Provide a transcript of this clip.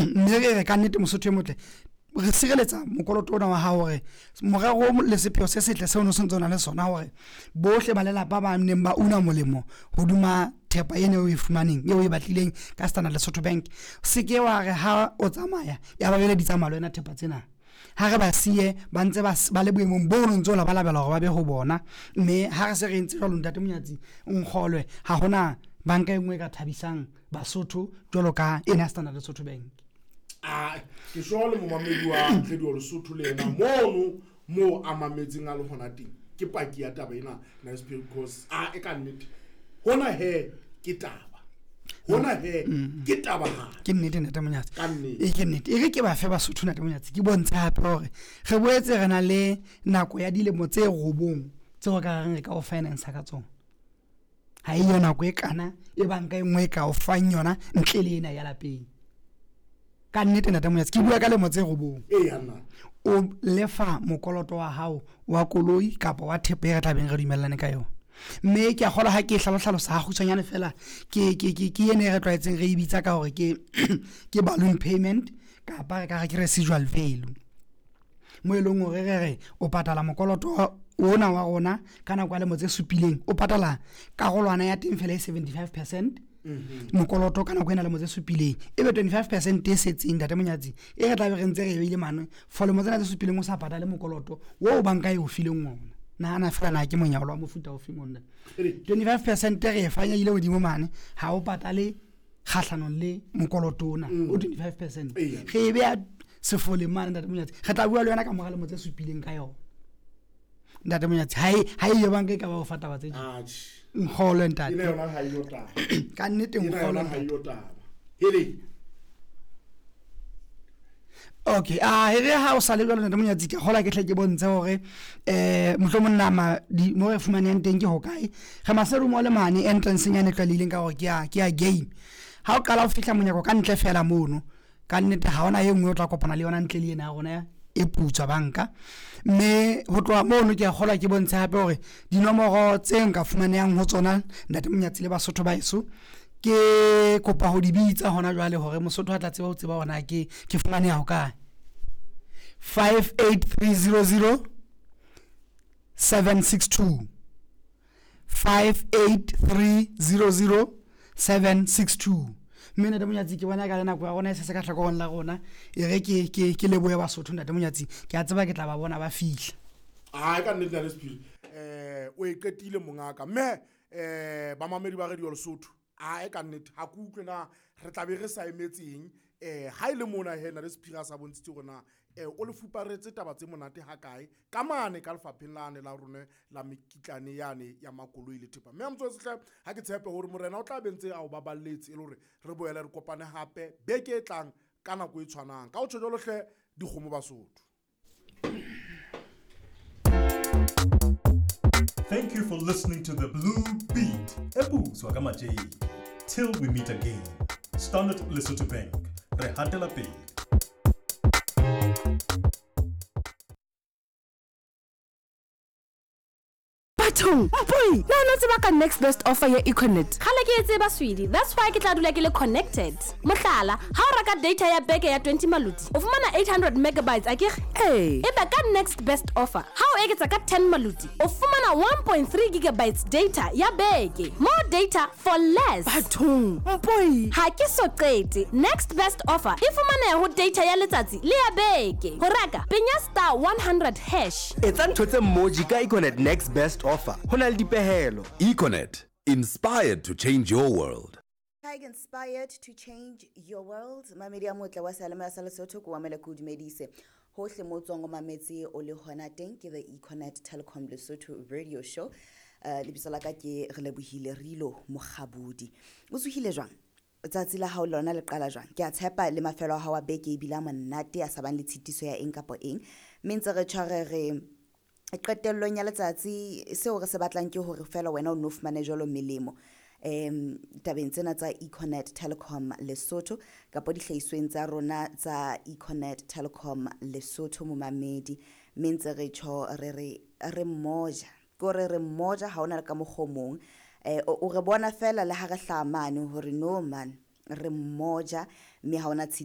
Mme re re ka nnete Mosotho e motle, re sireletsa mokoloto ona wa hao hore morero le sepheo se setle seo no sentse o na le sona hore bohle ba lelapa ba neng ba una molemo hodima thepa ena eo e fumaneng eo e batlileng ka Standard Lesotho Bank, se ke wa re ha o tsamaya ya ba bele di tsamaya le wena thepa tsena. Ha re ba siye ba ntse ba le boemong bo no ntse o labalabela hore ba be ho bona. Mme ha re se re entse jwalo, ntate Monyatsi, nkgolwe, ha hona banka e nngwe e ka thabisang Basotho jwalo ka ena Standard Lesotho Bank. A ke sure le momamedi wa Radio Lesotho le yena mono moo a mametseng a le hona teng ke paki ya taba ena, Nice, because a e ka nnete hona he ke taba, hona he ke taba ha. Ke nnete, ntate Monyatsi. Ka nnete. E ke nnete. E re ke ba fe Basotho, ntate Monyatsi, ke bontshe hape hore re boetse re na le nako ya dilemo tse 9 tseo re ka reng re ka o finance ka tsona. Ha e yo nako e kana e banka e nngwe e ka o fang yona ntle le ena ya lapeng. Ka nnete, ntate Monyatsi, ke bua ka lemo tse 9. Ee, nna. O lefa mokoloto wa hao wa koloi kapa wa thepa e re tlabeng re dumellane ka yona. Mme ke a kgolwa ha ke hlalohlalosa ha kgutshwanyane fela, ke ene e re tlwaetseng re e bitsa ka hore ke balloon payment kapa re ka re ke residual value. Mo e leng hore re re o patala mokoloto ona wa rona ka nako ya lemo tse 7, o patala karolwana ya teng fela e 75% mokoloto ka nako ena lemo tse 7, e be 25% e setseng, ntate Monyatsi, e re tlabe re ntse re e beile mane for lemo tsena tse 7 o sa patale mokoloto o banka e o fileng ona. Nahana fela na ke monyalo wa mofuta o feng ona. 25% re e fanyehile hodimo mane, ha o patale kgahlanong le mokoloto ona o 25%. Re e beha sefoleng mane, ntate Monyatsi, re tla bua le yona ka mora lemo tse 7 ka yona. Ntate Monyatsi, ha e yo banka e ka ba o fa taba tse Atjhe. Nkgolwe, ntate. Ena yona ha e yo taba. Ka nnete Ena nkgolwe, yona ha e ntate. yo taba. Hele. Okay, a e re ha o sa le jwalo, ntate Monyatsi, ke kgolwa ke hle ke bontshe hore mohlomong nama di mo re fumanehang teng ke hokae. Re Maseru mo le mane entrance nyane e tlwaelehileng ka hore ke ya game. Ha o qala ho fihla monyako ka ntle fela mono, ka nnete ha hona e nngwe o tla kopana le yona ntle le ena ya rona e putswa banka. Mme ho tloha mono ke a kgolwa ke bontshe hape hore dinomoro tse nka fumanehang ho tsona, ntate Monyatsi le Basotho ba heso, ke kopa ho di bitsa hona jwale hore Mosotho a tla tseba ho tseba hore na ke fumaneha hokae. 58300 762, 58300 762. Mme ntate Monyatsi, ke bona ka le nako ya rona e se se ka hlakoreng la rona, e re ke lebohe Basotho, ntate Monyatsi, ke a tseba ke tla ba bona ba fihla. Ha ka nnete, ntate Sephiri, o e qetile mongaka. Mme bamamedi ba Radio Lesotho, a e ka nnete ha ke utlwe na re tla be re sa emetseng. Ha e le mona he ntate Sephiri a sa bontshitse hore na o le fuparetse taba tse monate ha kae ka mane ka lefapheng lane la rona la mekitlane yane ya makoloi le thepa. Mme a motswetse hle, ha ke tshepe hore morena o tla be ntse a o baballetse e le hore re boele re kopane hape beke e tlang ka nako e tshwanang. Ka ho tjho jwalo hle, dikgomo Basotho. Thank you for listening to the Blue Beat. Ebutswa ka matjeke. Till we meet again. Standard Lesotho Bank. Re hatela pele. Bathong, mpoi, na o no tseba ka next best offer ya Econet? Kgale ke e tseba, Swedi, that's why ke tla dula ke le connected. Mohlala, ha o reka data ya beke ya 20 maluti, o fumana 800 megabytes, akere? Ee. Ebe ka next best offer, ha o eketsa ka 10 maluti, o fumana 1.3 gigabytes data ya beke. More data for less. Bathong, mpoi. Ha ke so qete. Next best offer e fumaneha ho data ya letsatsi le ya beke. Ho reka, penya star 100 hash. Etsa ntho tse mmoji ka Econet next best offer. Ho na le dipehelo. Econet, inspired to change your world. Hi, inspired to change your world. Mamedi a motle wa seyalemoya sa Lesotho, ke o amele ke o dumedise. Hohle mo tswang o mametse o le hona teng, ke the Econet Telecom Lesotho radio show. Lebitso la ka ke Relebohile Rilo Mokgabudi. O tsohile jwang? Tsatsi la hao lona le qala jwang? Ke a tshepa le mafelo a hao a beke ebile a monate, a sa bang le tshitiso ya eng kapa eng. Mme ntse re tshware re qetellong ya letsatsi, seo re se batlang ke hore fela wena o no fumane jwalo melemo tabeng tsena tsa Econet Telecom Lesotho kapa dihlahisweng tsa rona tsa Econet Telecom Lesotho momamedi. Mme ntse re tjho re re re mmoja, ke hore re mmoja ha hona le ka mokgwa o mong. O re bona fela le ha re hlaha mane hore no man, re mmoja mme ha hona tshitiso.